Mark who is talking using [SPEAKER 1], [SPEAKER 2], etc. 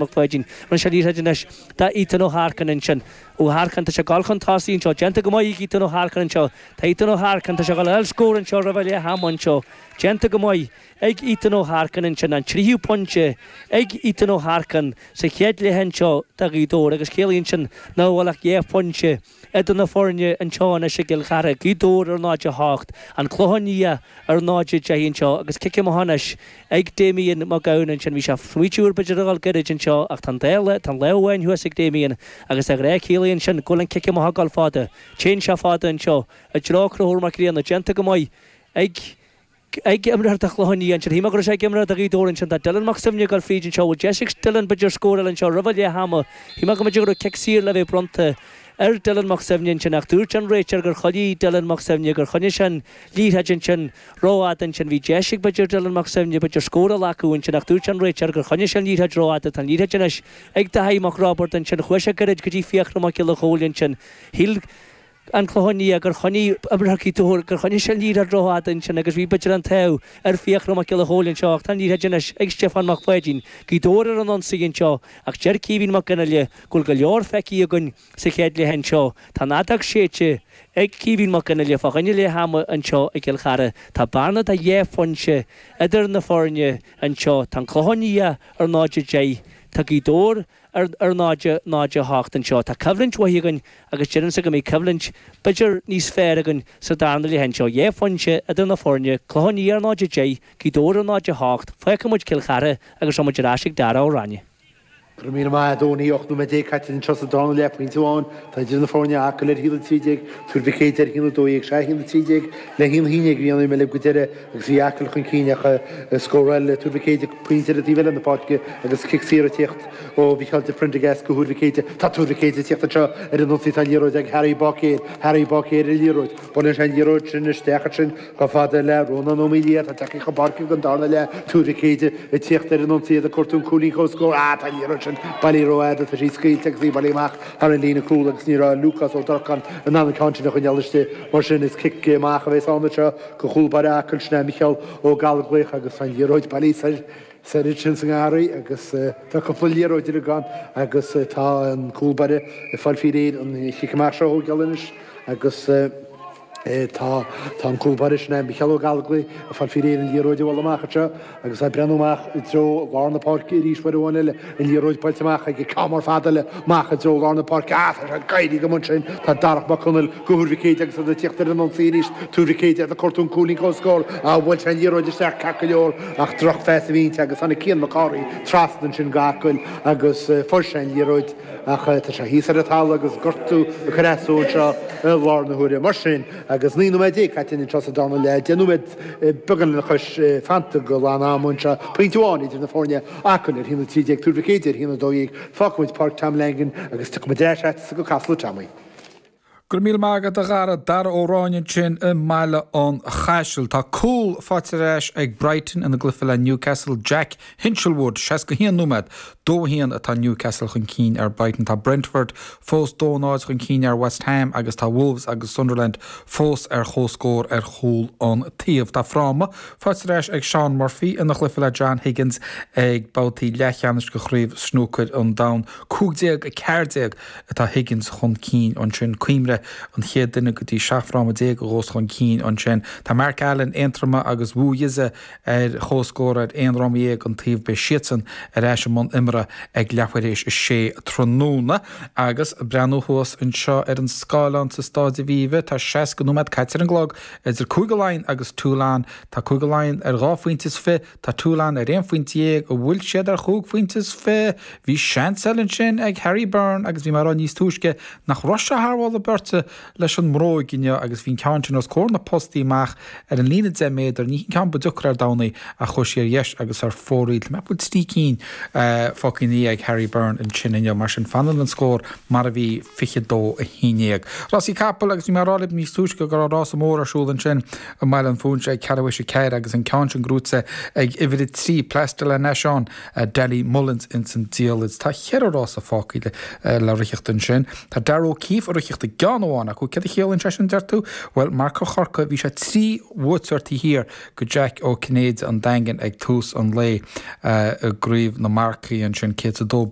[SPEAKER 1] Mac Pháidín. Rinne sé liathróid anois do Ethan Ó hEarcáin ansin. Ó hEarcáin, tá sé ag dul chun tosaigh anseo. Déanta go maith ag Ethan Ó hEarcáin anseo. Tá Ethan Ó hEarcáin, tá sé ag dul a fháil scór anseo roimh leath ama anseo. Déanta go maith ag Ethan Ó hEarcáin ansin. An tríú pointe ag Ethan Ó hEarcáin sa chéad leath anseo do Ghaoth Dobhair agus ciallaíonn sin nach bhfuil ach 2 phointe idir na foirne anseo anois i gCill Chartha, Gaoth Dobhair ar 0-8, An Clochán Liath ar 0-10 anseo agus cic amach anois ag Damien Mac Gabhann ansin. Bhí sé ag smaoitiú ar b'fhéidir a dhul gairid anseo ach tá an dá tá an lámh amháin thuas ag Damien agus de ghnáth ciallaíonn sin go bhfuil an cic amach ag dul fada. Téann sé fada anseo i dtreo Conchúr Mac Grianna, déanta go maith ag ag imreoir do Chlochán Liath ansin. Shíl mé go raibh sé ag imreoir do Ghaoth Dobhair ansin. Tá Dylan Mac Suibhne ag dul fríd anseo. Bhfuil deis ag Dylan b'fhéidir scór eile anseo roimh leath ama. Shíl mé go mb'fhéidir go raibh cic saor le bheith bronnta ar Dylan Mac Suibhne ansin ach dúirt an réiteoir gur choinnigh Dylan Mac Suibhne, gur choinnigh sé an liathróid ansin rófhada ansin. Bhí deis ag b'fhéidir Dylan Mac Suibhne b'fhéidir scór a ghlacadh ansin ach dúirt an réiteoir gur choinnigh sé an liathróid rófhada. Tá an liathróid anois ag Daithí Mac Roibeaird ansin. Chuaigh sé gairid go dtí Fiachra Mac Giolla Chóill ansin. Shíl. an Clochán Liath gur choinnigh imreoir Ghaoth Dobhair gur choinnigh sé an liathróid rófhada ansin agus bhí b'fhéidir an t-ádh ar Fiachra Mac Giolla Chóill anseo ach tá an liathróid anois ag Stiofán Mac Pháidín, Gaoth Dobhair ar an ionsaí anseo ach deir Caoimhín Mac Fhionnghaile go bhfuil go leor feicthe againn sa chéad leath anseo. Tá an fheadóg séidte ag Caoimhín Mac Fhionnghaile fá choinne leath ama anseo i gCill Chartha. Tá bearna de dhá phointe idir na foirne anseo. Tá an Clochán Liath ar 0-10, tá Gaoth Dobhair ar 0, 0, 8 anseo. Tá coimhlint mhaith againn agus deirimse go mbeidh coimhlint b'fhéidir níos fearr againn sa darna leath anseo. 2 phointe idir na foirne, Clochán Liath ar 0, 10, Gaoth Dobhair ar 0, 8. Fágfaidh muid Cill Chartha agus rachaidh muid ar ais ag Dara Ó Raithne.
[SPEAKER 2] Go raibh míle maith a Tony, 18 nóiméad caite anseo sa darna leath, pointe amháin atá idir na foirne, Acaill ar 1-13, Tuar Mhic Éadaigh ar 1-12, sea 1-13 le 1-11 a bhí an imir go deireadh agus bhí Acaill chun cinn ach scóráil Tuar Mhic Éadaigh pointe ar an taobh eile na páirce agus cic saor ag tíocht ó Mhicheál de Prendergast go Thuar Mhic Éadaigh. Tá Tuar Mhic Éadaigh ag tíocht anseo ar an ionsaí tá an liathróid ag Harry Báicéir. Harry Báicéir ar an liathróid. Buaileann sé an liathróid sin isteach ansin chomh fada le Rónán Ó Maoildhia atá tagtha chun páirce don darna leath. Tuar Mhic Éadaigh ag tíocht ar an ionsaí iad ag cuartú an cúilín comhscóir. Ah tá an liathróid sin bailithe rófhada. Tá sí scaoilte agus í bailithe amach thar an líne cúl agus ní raibh Lúcás Ó Durcáin in ann an ceann sin a choinneáil istigh. Mar sin is cic amach a bheas ann anseo go chúl báire Acaill sin é Micheál Ó Gallchóir agus tá an liathróid bailithe soir ansin sa ngarraí agus tá cúpla liathróid uilig ann agus tá an cúl báire ag fáil faoi réir an chic amach seo a thógáil anois agus tá tá an cúl báire sin é Micheál Ó Gallchóir ag fáil faoi réir an liathróid a bhualadh amach anseo agus é ag breathnú amach i dtreo lár na páirce arís uair amháin eile, an liathróid buailte amach aige, ceann mór fada eile amach i dtreo lár na páirce. Ah, tá sé ag éirí go maith ansin, tá Darach Mac Conaill go Thuar Mhic Éadaigh agus iad ag tíocht ar an ionsaí arís, Tuar Mhic Éadaigh ag cuartú an cúilín comhscóir, ah, bhuail sé an liathróid isteach ceart go leor ach drochphas a bhí inti agus tháinig Cian Mac Cárthaigh trasna ansin go Acaill agus fuair sé an liathróid ach tá sé thíos ar an talamh agus gortú ag cur as dó anseo i láthair na huaire. Mar sin, agus 19 nóiméad caite anseo sa darna leath, 10 nóiméad beagán lena chois fanta go lán ama anseo, pointe amháin idir na foirne, Acaill ar 1-13, Tuar Mhic Éadaigh ar 1-12, fágfaimid Páirc Tom Langan agus tiocfaimid ar ais agatsa go Casla Tommy.
[SPEAKER 3] Go raibh míle maith agat a Dhara. Dara Ó Ráinne ansin i mBaile an Chaisil. Tá cúl faighte ar ais ag Brighton ina gcluiche le Newcastle. Jack Hinshelwood, 61 nóiméad, 2-1 atá Newcastle chun cinn ar Brighton. Tá Brentford fós 2-0 chun cinn ar West Ham agus tá Wolves agus Sunderland fós ar comhscór ar chúl an taobh. Tá fráma faighte ar ais ag Shaun Murphy ina chluiche le John Higgins ag babhtaí leathcheannais de Chraobh Snúcair an Domhain. 15-14 atá Higgins chun cinn ansin. Cuimhnigh, an chéad duine go dtí 17 fráma a ghabhfas chun cinn ansin. Tá Mark Allen, Aontroma agus Wu Yize ar comhscór ar aon fhráma dhéag an taobh. Beidh siadsan ar ais i mbun imeartha ag leathuair théis a sé tráthnóna. Agus breathnú thuas anseo ar an scáileán sa Stáid Aviva, tá 60 nóiméad caite ar an gclog idir Cúige Laighean agus Toulon. Tá Cúige Laighean ar dhá phointe is fi, Tá Toulon ar aon phointe dhéag, an bhfuil siad ar chúig phointe is fi? Bhí seans eile ansin ag Harry Byrne agus bhí mé ag rá níos túisce nach raibh sé thar mholadh beirte leis an mbróig inniu agus bhí an ceann sin os comhair na postaí amach ar an líne 10 méadar, ní hin ceann ba deacra ar domhan é ach chuaigh sí ar dheis agus ar fóraoil. Tá mé ag ceapadh go bhfuil trí cinn fágtha ina dhiaidh ag Harry Byrne ansin inniu. Mar sin fanann an scór mar a bhí, 22 11. Rásaí capall agus bhí mé ag rá libh níos túisce go raibh rása mór ar siúl ansin i mBaile an Phúinse ag ceathrú théis 4 agus an ceann sin gnóite ag uimhir 3, Place de la Nation, Danny Mullins ins an diallait. Tá cheithre rása fágtha le ritheacht ansin. Tá Darragh O'Keeffe ag ritheacht i gceann. ceann amháin acu. Céard a chiallaíonn sé sin, deir tú? Bhuel, marcóir Chorcaí, bhí sé 3 bhuaiteoir taobh thiar de Jack Ó Cinnéide an Daingin ag tús an lae i gcraobh na marcaí ansin, 102.